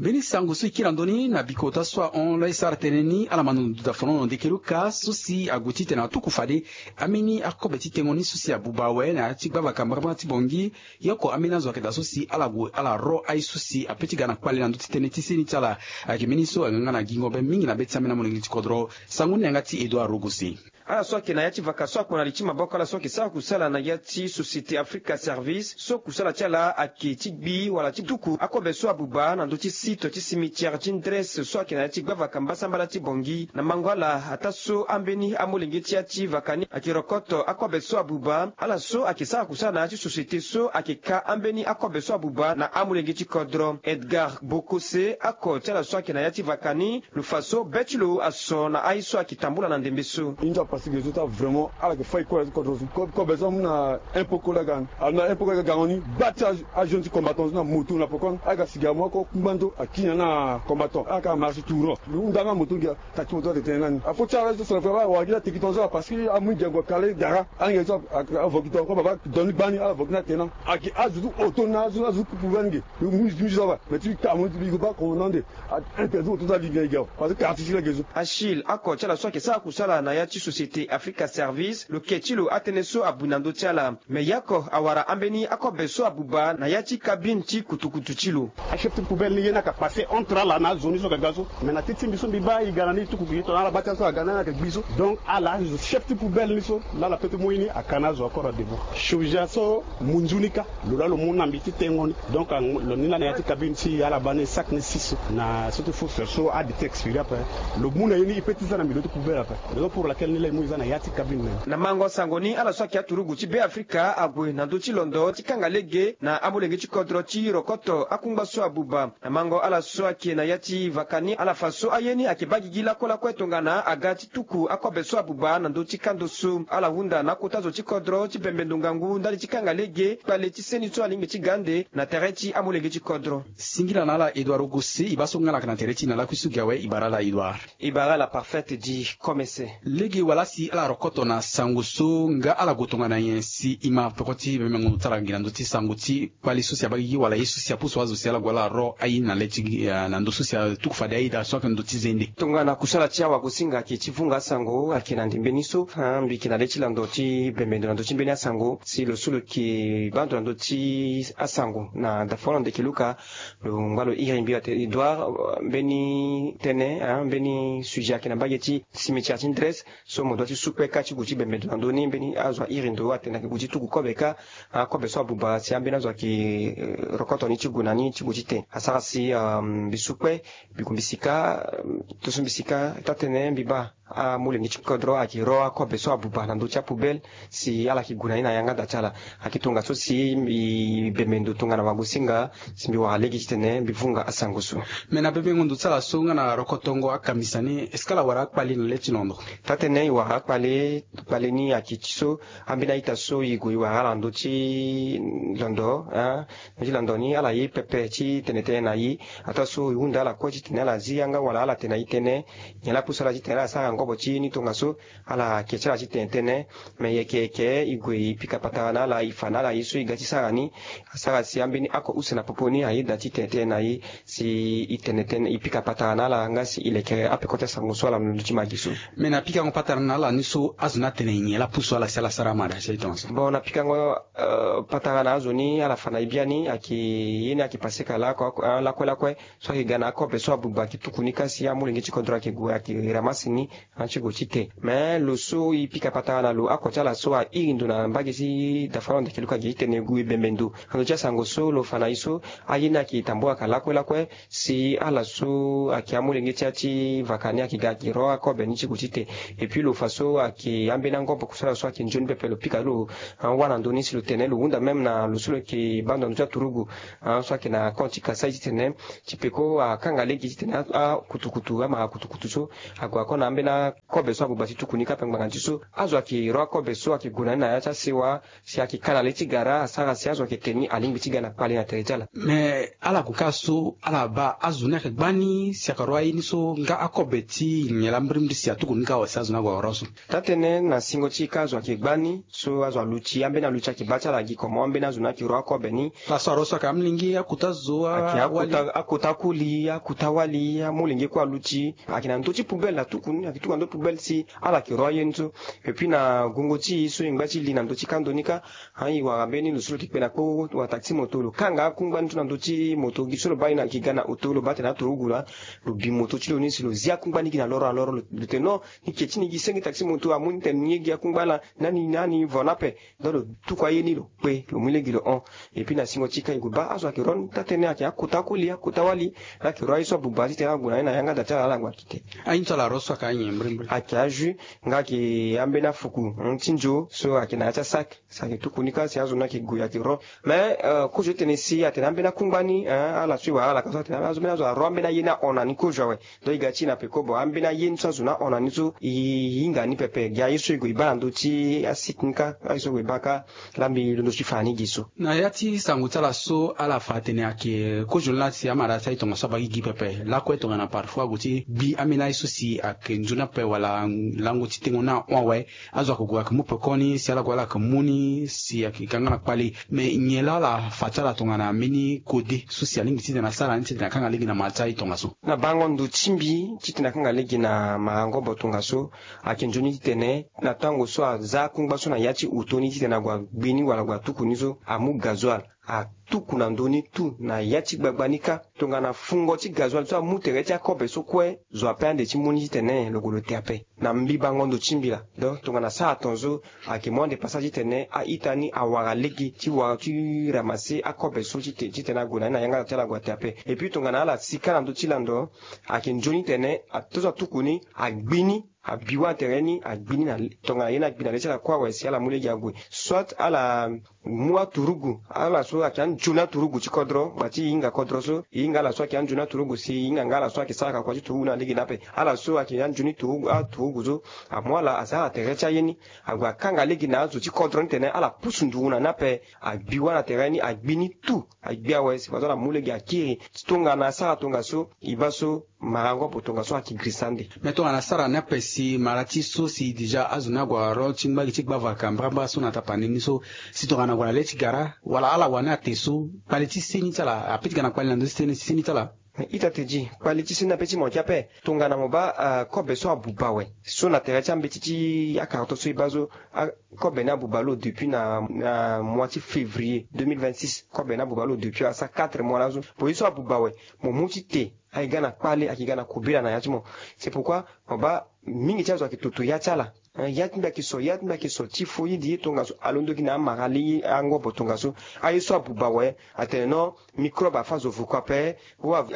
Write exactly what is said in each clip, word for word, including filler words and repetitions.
Mbeni sango so e kiri na ndö ni na bikota so ahon lo e sara tënë ni ala ma ndo dafono na ndeke luka so si ague titene atuku fade ambeni akobe ti tengo ni so si abuba awe na ya ti gbavaka mbagambanga ti bongi. Ye oko ambeni azo ayeke daa so si ala gue ala ro aye so si ape ti ga na kpale na ndö ti tënë ti seni ti ala. Ayeke mbeni so aga nga na gingo be mingi na be ti ambeni amolenge ti kodro. Sango ni na yanga ti Edouard Rogosi. Ala so ayeke na ya ti vaka so akpo na li ti maboko ala so ayeke sara kusala na ya ti Société Africa Service so kusala ti ala ayeke ti gbi wala ti tuku akobe so abuba na ndö ti site ti cimetière ti Ndres so ayeke na ya ti gbavaka mbasambala ti bongi. Na mango ala ataa so ambeni amolenge ti ya ti vaka ni ayeke rokoto akobe so abuba, ala so ayeke sara kusala na ya ti société so ayeke ka ambeni akobe so abuba na amolenge ti kodro. Edgar Bokose, oko ti ala so ayeke na ya ti vaka ni, lo fa so be ti lo aso na aye so ayeke tambula na ndembe so. Inzo apasi ge so ti ala vraiment ala yeke fai kue na ya ti kodro so. Ko- kobe so amu na un peu kue la ga ni, amu na un peu kue la ga gango ni. Gba ti ajeune ti combattant so na moto na poko ni ala yeke asi ga amu oko kungba ndo akiri na combattant ala yeke amara si tour lo hunda nga moto ngia. Kati moto atene tënë nani afo ti ala so sara fo awara gi la teki tongaso parce que amu ngia gue kale dara. Ala ngia so avoki tonga ko baba doni gbani ala voki na tena. Ayeke azo ti oto na azo azo ti kupu vani ge. Yo mu zi ti mu zi so aba mais ti bi ka mo ti bi ko ba ko na nde. Interdit oto ti ala li ngia ngia parce que quartier ti la ge so. Achille, oko ti ala so ayeke sara kusala na ya ti Société Africa Service, lo ke ti lo atënë so abui na ndö ti ala. Me ye oko awara ambeni akobe so abuba na ya ti cabine ti kutukutu ti lo. Achef ti poubelle ni ye ni ayeke passe entre ala na azo ni so ayeke ga so. Me na ti ti mbi so mbi baa e ga na ni e tuku gi tongana ala baa ti ala so aga na ni ayeke gbi so. Donc ala chef ti poubelle ni so laa ala peut ti mu ye ni aka na azo encore na devant. Chirurgien so mu nzu ni kâ. Lo laa lo mu na mbi ti tengo ni. Donc lo ni laa na ya ti cabine ti ala baa ni sac ni six na so ti fourche so ade ti expiré ape. Lo mu na ye ni e peut ti za na milieu ti poubelle ape. Raison pour laquelle ni laa e mu e za na ya ti cabine na ni. Na mango sango ni ala so ayeke aturugu ti Be Afrika ague na ndö ti londo ti kanga lege na amolenge ti kodro ti rokoto akungba so abuba. Na mango ala so ayeke na ya ti vaka ni ala fa so aye ni ayeke baa gigi lakue lakue tongana aga ti tuku akobe so abuba na ndö ti kando so. Ala hunda na akota zo ti kodro ti bembendo ngangu ndali ti kanga lege kpale ti seni so alingbi ti ga ande na tere ti amolenge ti kodro. Singila na ala Edouard Rogosi, e baa so nga na yeke na tere ti e na lakui so gi awe, e bara ala Edouard. E bara ala Parfaite di Komese. Lege wala si ala rokoto na sango so nga ala gue tongana nyen si e ma peko ti bemengo ndo ti ala gi na ndö ti sango ti kpale so si abaa gigi wala ye so si apusu azo si ala gue ala ro aye ni na le ti gi na ndö so si atuku fade aye daa so ayeke ndö ti zende. Tongana kusala ti awagosinga ayeke ti vunga asango ayeke na ndembe ni so. Mbi yeke na le ti lando ti bembe ndo na ndö ti mbeni asango si lo so lo yeke baa ndo na ndö ti asango na dafono ndeke luka. Lo ngba lo iri mbi ate Edouard, mbeni tënë, mbeni sujet ayeke na mbage ti cimetière ti Ndres. So mo dua ti sukpe kâ ti gue ti bembe ndo na ndö ni mbeni azo airi ndo atene ayeke gue ti tuku kobe kâ. Akobe so abuba si ambeni azo ayeke rokoto ni ti gue na ni ti gue ti te asara si mbi sukpe. Mbi gue mbi sika. Tongaso mbi sika taa-tënë mbi baa amolenge ti kodro ayeke ro akobe so abuba na ndö ti apoubelle. Si ala yeke gue na ni na yanga da ti ala. Ayeke tongaso si mbi bembe ndo tongana wagosinga si mbi wara lege titene mbi vunga asango so. Me na bebengo ndo ti ala so nga na rokotongo akambisa ni est-ce que ala wara akpale na le ti londo? Taa-tënë e wara akpale. Kpale ni ayeke ti so ambeni a-ita so e gue e wara ala na ndö ti londo. Ndö ti londo ni ala ye pepe ti tene tënë na e. Ataa so e hunda ala kue titene ala zi yanga wala ala tene na e tënë. Nyen laa apusu ala titene ala sara ngobo ti ye ni tongaso. Ala ke ti ala ti tene tënë. Me yeke yeke e gue e pika patara na ala e fa na ala ye so e ga ti sara ni. Asara si ambeni oko use na popo ni ayeda ti tene tënë na e. Si e tene tënë e pika patara na ala nga si e leke apeko ti asango so ala na ndö ti magi so. Me na pikango patara na ala ni so azo ni atene nyen laa apusu ala si ala sara amara si aye tongaso? Bon, na pikango patara na azo ni ala fa na e biani ayeke ye ni ayeke pase ka lakue lakue. So ayeke ga na akobe so abuba ayeke tuku ni kâ si amolenge ti kodro ayeke gue ayeke ramase ni. Ti gue ti te. Me lo so e pika patara na lo oko ti ala so airi ndo na mbage ti dafa lo ndeke luka gi ti tene gue bembe ndo na ndö ti asango so lo fa na e so. Aye ni ayeke tambula ka lakue lakue. Si ala so ayeke amolenge ti ya ti vaka ni ayeke ga ayeke ro akobe ni ti gue ti te. Et puis lo fa so ayeke ambeni angobo kusala so ayeke nzoni pepe lo pika lo. Awara na ndö ni si lo tene lo hunda même na lo so lo yeke baa ndo na ndö ti aturugu so ayeke na compte ti kasai titene ti peko akanga lege titene akutukutu ama akutukutu so ague ako na ambeni Kobe so abuba ti tuku ni kâ ape ngbanga ti so azo ayeke ro akobe so ayeke gue na ni na ya ti asewa. Si ayeke ka na le ti gara asara si azo ayeke tene ni alingbi ti ga na kpale na tere ti ala. Me ala gue kâ so ala baa azo ni ayeke gbani si ayeke ro aye ni so nga akobe ti nyen laa mbirimbiri si atuku ni kâ awe si azo ni ague aro so. Taa-tënë na singo ti e kâ azo ayeke gbani so azo aluti ambeni aluti ayeke baa ti ala gi komo ambeni azo ni ayeke ro akobe ni. Laso aro so ayeke amolenge akota zo ayeke akota koli akota wali amolenge kue aluti. Ayeke na ndö ti poubelle atuku ni ayeke tuku na ndö ti poubelle si ala yeke ro aye ni so. Epui na gongo ti e so e ngba ti li na ndö ti kando ni kâ. Ayi wara mbeni lo so lo yeke kpe na kpo wala taxi moto lo kanga akungba ni so na ndö ti moto gi so lo baa ye na yeke ga na oto lo baa tene aturugu laa. Lo bi moto ti lo ni si lo zi akungba ni gi na loro na loro lo tene non. Ni ke ti ni gi senge taxi moto amu ni tene ni ye gi akungba ala. Nani nani vo ni ape. Donc lo tuku aye ni lo kpe lo mu lege lo hon. Epui na singo ti e kâ e gue baa azo ayeke ro ni taa-tënë ayeke akota koli akota wali. Laa ayeke ro aye so abuba titene ague na ye na yanga da ti ala ala gue akite. Aye ni so ala ro so ayeke anyen mbirimbiri ayeke ajus nga ayeke ambeni afuku ti nzo so ayeke na ya ti asak. Si ayeke tuku ni kâ si azo ni ayeke gue ayeke ro. Mais kozo ti tene si atene ambeni akungba ni ala so e wara ala ka so atene azo mbeni azo aro ambeni aye ni ahon na ni kozo awe. Donc e ga ti e na peko bon ambeni aye ni so azo ni ahon na ni so e hinga ni pepe gi aye so e gue e baa na ndö ti asite ni kâ aye so e gue e baa kâ. Laa mbi londo ti fa na ni gi so. Na ya ti sango ti ala so ala fa atene ayeke kozo ni laa si amara ti aye tongaso abaa gigi pepe lakue tongana parfois ague ti gbi ambeni aye so si ayeke nzoni ape wala lango ti tengo ni ahon awe. Azo ayeke gue ayeke mu pekoni si ala gue ala yeke mu ni si ayeke ga nga na kpale. Me nyen laa ala fa ti ala tongana mbeni kode so si alingbi titene asara ni titene akanga lege na mara ti aye tongaso. Na bango ndo ti mbi titene akanga lege na marango bo tongaso. Ayeke nzoni titene na tango so aza akungba so na ya ti oto ni titene ague agbi ni wala ague atuku ni so amu gazoil atuku na ndö ni tout na ya ti gbagba ni kâ. Tongana fungo ti gazoil so amu tere ti akobe so kue zo ape ande ti mu ni titene lo gue lo te ape. Na mbi bango ndo ti mbi laa donc tongana asara ton so ayeke mu ande passage titene a-ita ni awara lege ti wara ti ramasse akobe so titene ague na ni na yanga ti ala ague ate ape. Epui tongana ala si kâ na ndö ti lando ayeke nzoni tene ato so atuku ni agbi ni abi wâ na tere ni agbi ni na tongana ye ni agbi na le ti ala kue awe si ala mu lege ague. Soit ala mu aturugu ala so ayeke anzoni aturugu ti kodro ngba ti e hinga kodro so e hinga ala so ayeke anzoni aturugu si e hinga nga ala so ayeke sara kakua ti turugu ni na lege ni ape. Ala so ayeke anzoni turugu aturugu so amu ala aza na tere ti aye ni ague akanga lege na azo ti kodro ni tene ala pusu nduru na ni ape. Agbi wâ na tere ni agbi ni tout agbi awe si fadeso ala mu lege akiri tongana asara tongaso. E baa so marango bo tongaso ayeke girisa ande. Me tongana asara ni ape si mara ti so si déjà azo ni ague aro ti ngba gi ti gbavaka mbrambra so na tapani ni so si tongana ague na le ti gara wala ala wani ate so kpale ti seni ti ala ape ti ga na kpale na ndö ti seni ti seni ti ala. Ita te di kpale ti seni ape ti mo yeke ape tongana mo baa kobe so abuba awe so na tere ti ambeti ti akarto so e baa so. Kobe ni abuba lo depuis na mois ti février deux mille vingt-six kobe ni abuba lo depuis asa quatre mois laso. Po ye so abuba awe mo mu ti te ayeke ga na kpale ayeke ga na kobela na ya ti mo. C'est pourquoi mo baa mingi ti azo ayeke toto ya ti ala. Ya ti mbi ayeke so ya ti mbi ayeke so ti fo ye di ye tongaso alondo gi na amara li angobo tongaso. Aye so abuba awe atene non. Microbe afa zo vuku ape.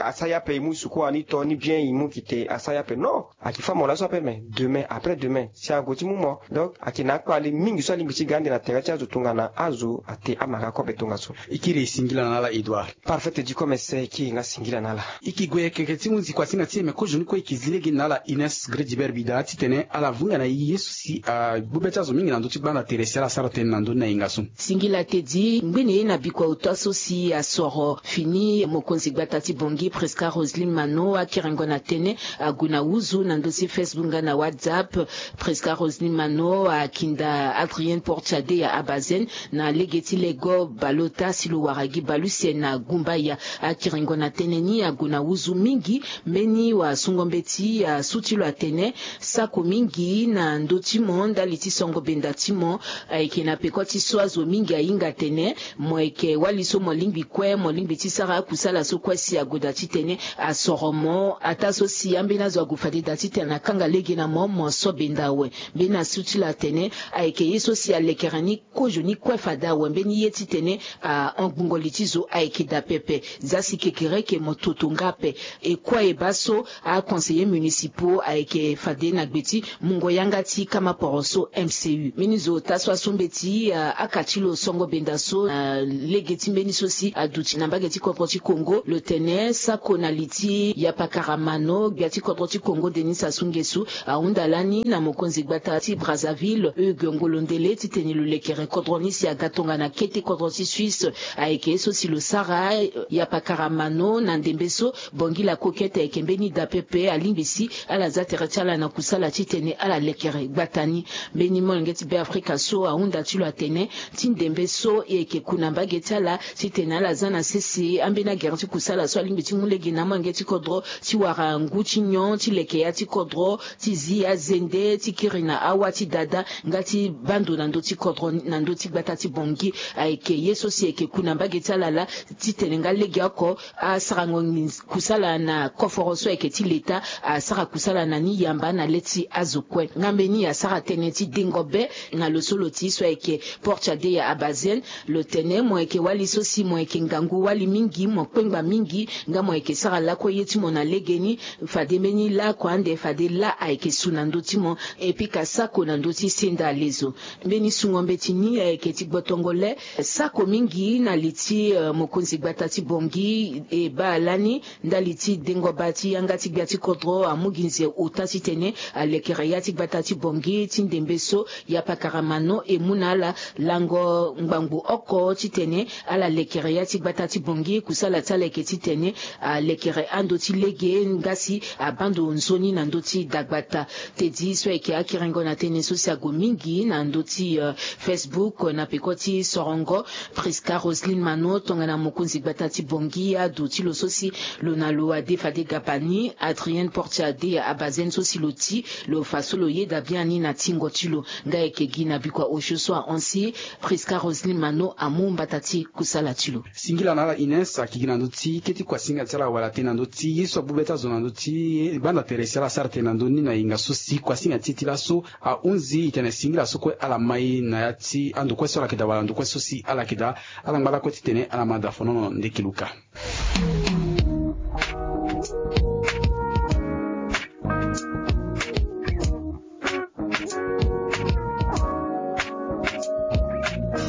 Asara ye ape e mu suku wani to ni bien e mu gi te asara ye ape non. Ayeke fa mo laso ape me demain après demain si ague ti mu mo. Donc ayeke na akpale mingi so alingbi ti ga ande na tere ti azo tongana azo ate amara kobe tongaso. E kiri e singila na ala Edouard. Parfait te di comme ese e kiri nga singila na ala. E ke gue yeke ti hunzi kuasinga ti e me kozo ni kue e ke zi lege na ala Ines Gredibert Bida titene ala vunga na e ye so si agbu be ti azo mingi na ndö ti gbanda tere si ala sara tënë na ndö ni na yenga so. Singila te di ngbene ye na bikua ota so si asoro fini mokonzi gbata ti Bangui Prisca Roseline Mano akiringo na tënë ague na huzu na ndö ti Facebook nga na WhatsApp. Prisca Roseline Mano akinda Adrienne Portiade ya Abazen na lege ti lego baleota si lo wara gi baleuse na Gumbaya. Akiringo na tënë ni ague na huzu mingi. Mbeni wasungo mbeti asu ti lo atene sako mingi na ndö ti mo ndali ti songo benda ti mo. Ayeke na peko ti so azo mingi ahinga atene mo yeke wali so mo lingbi kue mo lingbi ti sara akusala so kue si ague daa titene asoro mo ataa so si ambeni azo ague fade daa titene akanga lege na mo mo so benda awe. Mbeni asu ti lo atene ayeke ye so si alekere ni kozo ni kue fade awe mbeni ye titene ahon gbungo li ti zo ayeke daa pepe. Za si kekereke mo toto nga ape. E kue e baa so aconseillers municipaux ayeke fade na gbe ti mungo yanga ti Kama poroso M C U mbeni zo ota so asombe ti akati lo songo benda so na lege ti mbeni so si aduti na mbage ti kodro ti Congo lo tene sako na li ti Yapakaramano gbia ti kodro ti Congo Denis Sassou Nguesso ahunda lani na mokonzi gbata ti Brazzaville Hugues Ngolondele titene lo lekere kodro ni si aga tongana kete kodro ti Suisse. Ayeke ye so si lo sara Yapakaramano na ndembe so Bangui la Coquette ayeke mbeni da pepe alingbi si ala za tere ti ala na kusala titene ala lekere gbata ni. Mbeni molenge ti Beafrika so ahunda ti lo atene ti ndembe so e yeke ku na mbage ti ala titene ala za na sese ambeni agere ti kusala so alingbi ti mu lege na amolenge ti kodro ti wara ngu ti nyon ti leke ya ti kodro ti zi azende ti kiri na awa ti dada nga ti baa ndo na ndö ti kodro na ndö ti gbata ti Bangui. Ayeke ye so si e yeke ku na mbage ti ala laa titene nga legeoko asarango nginzi kusala na koforo so ayeke ti leta asara kusala na ni yamba na le ti azo kue. Nga mbeni asara tënë ti dengo be na lo so lo ti so ayeke Portia Deya Abazen. Lo tene mo yeke wali so si mo yeke ngangu wali mingi mo kpengba mingi nga mo yeke sara lakue ye ti mo na legeni. Fade mbeni lakue ande fade laa ayeke su na ndö ti mo. E pika sako na ndö ti senda lezo. Mbeni sungo mbeti ni ayeke ti gbotongo le sako mingi na li ti mokonzi gbata ti Bangui e baa lani ndali ti dengo baa ti yanga ti gbia ti kodro amu gi nze ota titene alekere ya ti gbata ti Bangui ti ndembe so Yapakaramano e mu na ala lango ngbangbo oko titene ala lekere ya ti gbata ti Bangui kusala ti ala yeke titene alekere ando ti lege nga si abaa ndo nzoni na ndö ti dagbata. Tedi so ayeke akiringo na tënë so si ague mingi na ndö ti Facebook na peko ti sorongo Prisca Roseline Mano tongana mokonzi gbata ti Bangui adu ti lo so si lo na lo ade fade gabani Adrienne Portia Deya Abazen so si lo ti lo fa so lo yeda biani na tingo ti lo. Nga ayeke gi na bikua osio so ahon si Prisca Roseline Mano amu mbata ti kusala ti lo. Singila na ala Ines ayeke gi na ndö ti kete kuasinga ti ala wala tënë na ndö ti ye so abu be ti azo na ndö ti gbanda tere si ala sara tënë na ndö ni na yenga so si kuasinga ti e ti laso ahunzi e tene singila so kue ala mai na ya ti ando kue so ala yeke daa wala ando kue so si ala yeke daa. Ala ngba lakue titene ala ma daa fonono ndeke luka.